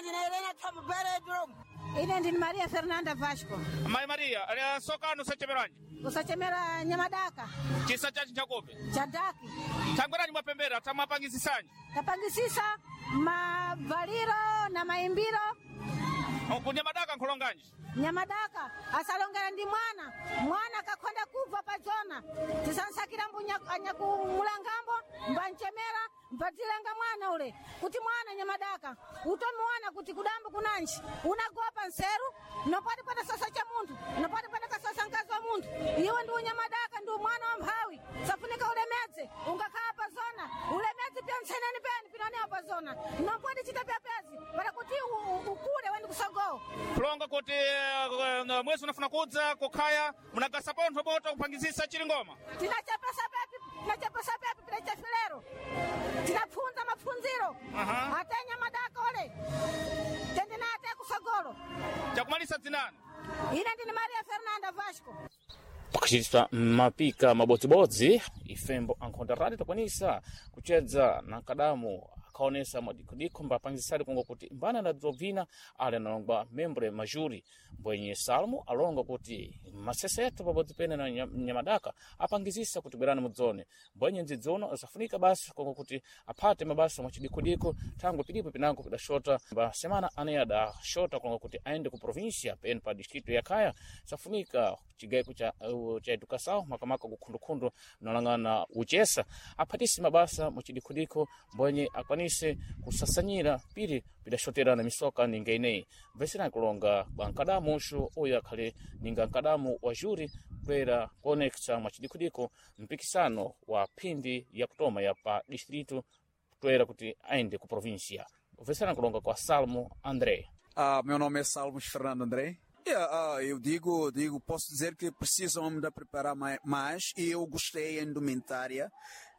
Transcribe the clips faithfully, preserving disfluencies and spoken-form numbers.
Ndine Helena Thombo Beredrum. Ine ndini Maria Fernanda Vasco. Mayi Maria, eh, sokano sachemeranji Kusachemera nyamadaka chisa chachi chakope cha daki thangwerani mwapembera tamwapangisisanji tapangisisa mavaliro na maimbiro. Kunyamadaka nkhulonganji? Nyamadaka asalongera ndi mwana mwana akakhonda kubva padzona tisansakira mbunya anyakumulangambo mbanchemera mbadzilanga mwana ule kuti mwana nyamadaka utomuona kuti kudambo kunanji unagopa nseru nopati pata sosa cha munthu, nopati pata kasosa mkazi wa munthu. Iwe ndi unyamadaka, ndi mwana wa mphawi, safunika ulemedze ungakhala pazona ulemedze pya ntseneni peni pinonewa pazona nopoti chita pyapyazi para kuti u- u- ukule wendi kusogowo. Kulonga kuti eh, eh, mwezi unafuna kudza kukhaya munagasa pontho bota kupangisisa chilingoma? Tinachapesa pepi, tinachapesa pepi pinachafilero, tinapfunza mapfunziro. Aha. Atenya madaka ole tendena ate kusogolo. Chakumalisa dzinani? Ine ndini Maria Fernanda Vasco. Pakuchitiswa mapika mabodzibodzi, ifembo ankhonda radi takwanisa kuchedza na nkadamu akaonesa mwadikhodikho mbapangisisadi kunga kuti mbana adadzobvina ali analongwa membre majuri mbwenye Salmo alonga kuti maseseto pabodzi pene na nya- nyamadaka apangizisa kuti bwerani mudzone mbwenye ndzidzono asafunika basi konga kuti aphate mabasa mwachidikodiko thangwe pilipo pinango pidashota pa semana ane adashota konga kuti aende ku provincia pene pa distrito ya Khaya safunika chigaiko cha, uh, cha educação makamaka kukhundukhundu nalang'ana uchesa aphatise mabasa muchidikodiko mbwenye akwanise kusasanyira pili pidashoterana misoka ninga ineyi mveserani kulonga kwa nkadamu uxu uyu akhale ninga nkadamu wa juri kwera kuonekesa mwachidikodiko mpikisano wa phindi ya kutoma ya pa distrito toera kuti aende ku provincia. Mveserani kulonga kwa Salmo André. Ah, meu nome é Salmos Fernando André. Yeah, ah, eu digo, digo, posso dizer que precisam ainda preparar mai- mais e eu gostei a indumentária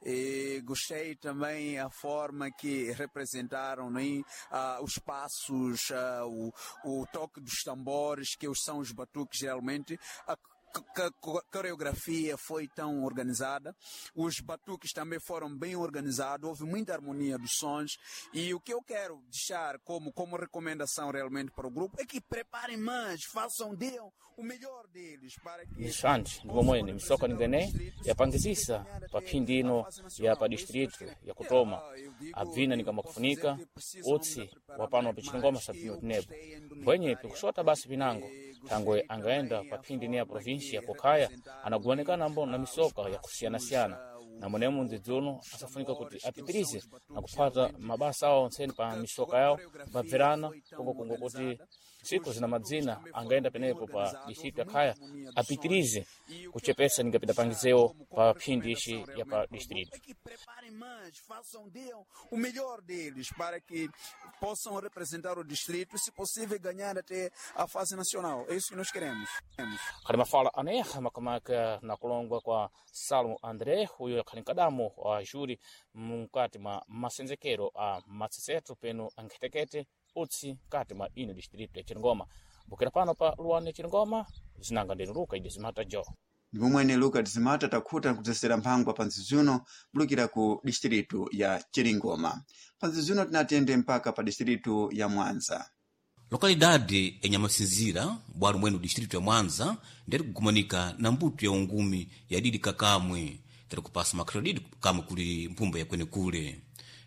e gostei também a forma que representaram, né? Ah, os passos, ah, o, o toque dos tambores, que são os batuques geralmente. A c- c- coreografia foi tão organizada, os batuques também foram bem organizados, houve muita harmonia dos sons e o que eu quero deixar como, como recomendação realmente para o grupo é que preparem mais, façam, deem o melhor deles para que Isandi ndipomwene misoka ninga yapangisisa pa phindi ino ya pa distrito ya kutoma abvina nikamakufunika utsi wa pano pichilingoma sabvino tinepo mbwenye pikushota basi pinango thangwe angaenda pa phindi ine ya provincia kukhaya anagumanikana mbo na misoka yakusiyanasiyana na mwenemo ndzidzuno asafunika kuti apitirize na kuphata mabasa awo ontseni pa misoka yawo mbabverana kongokongo kuti siku zina madzina angaenda penepo pa distrito ya Khaya apitirize kuchepesa ningapidapangizewo pa phindi ixi ya pa distrito. É que preparem mais, façam, deem o melhor deles para que possam representar o distrito e, se possível, ganhar até a fase nacional. É isso que nós queremos. Queremos. Khali mafala aneha makamaka na kulongwa kwa Salmo André uyo akhali nkadamu wa juri mukati mwa masenzekero a matseseto peno ankhetekete utsi mkati mwa ino distrito ya Chilingoma. Bukira pano pa luwani ya Chilingoma zinanga ndinu Luka ide zimata jo. Ndipo mwene Luka Tizimata takhuta nkudzesera mphangwa pa nzizuno bulukira ku distritu ya Chiringoma. Pa nzizuno tinatende mpaka pa distritu ya Mwanza. Lokalidade ya Nyamasinzira bwalo mwene distrito ya Mwanza nderi kugumanika na mbuto ya ungumi ya didi kakamwe teri kupasa makrediti kamwe kuli mpumba ya kwenekule.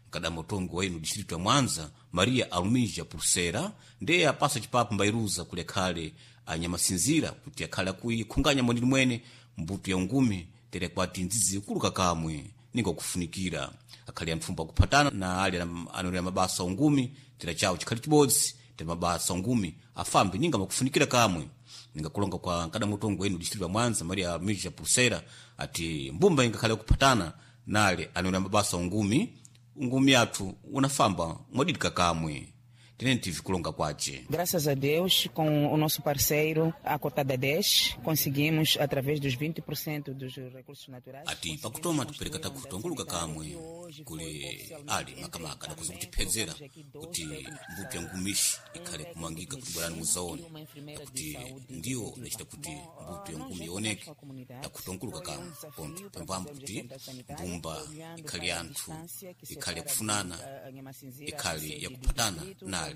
Mkadama utongo wa inu distrito ya Mwanza Maria Alumija Pulsera ndiye apasa chipapo mbairuza kule khale a Nyamasinzira kuti akhale akuikhunganya mweneni mwene mbuto ya ungumi tere kwati nzizi kuluka kamwe ninga kufunikira akhali antfumba kuphatana na ali anolera mabasa ungumi tera chawo chikhali chibodzi tere mabasa ungumi afambe ninga makufunikira kamwe. Ninga kulonga kwa nkadamutongo wenu distritu ya Mwanza Maria Mija Pulsera ati mbumba ingakhale kuphatana nale anolera mabasa ungumi ungumi athu unafamba mwadidika kamwe tene tive kulonga kwace. Graças a Deus, com o nosso parceiro, a Cotada dez, conseguimos, através dos vinte por cento dos recursos naturais. Ati pakutoma tipereka takutongoluka kamwe kuli ali makamaka adakuza kutiphedzera kuti mbuto ya ngumishi ikhale kumangika kuti bwerani muzaone kuti ndiyo idacita kuti mbuto ya ngumi ioneke takutongoluka kamwe ponto pambambo kuti mbumba ikhale anthu ikhale yakufunana ikhale yakuphatana nali.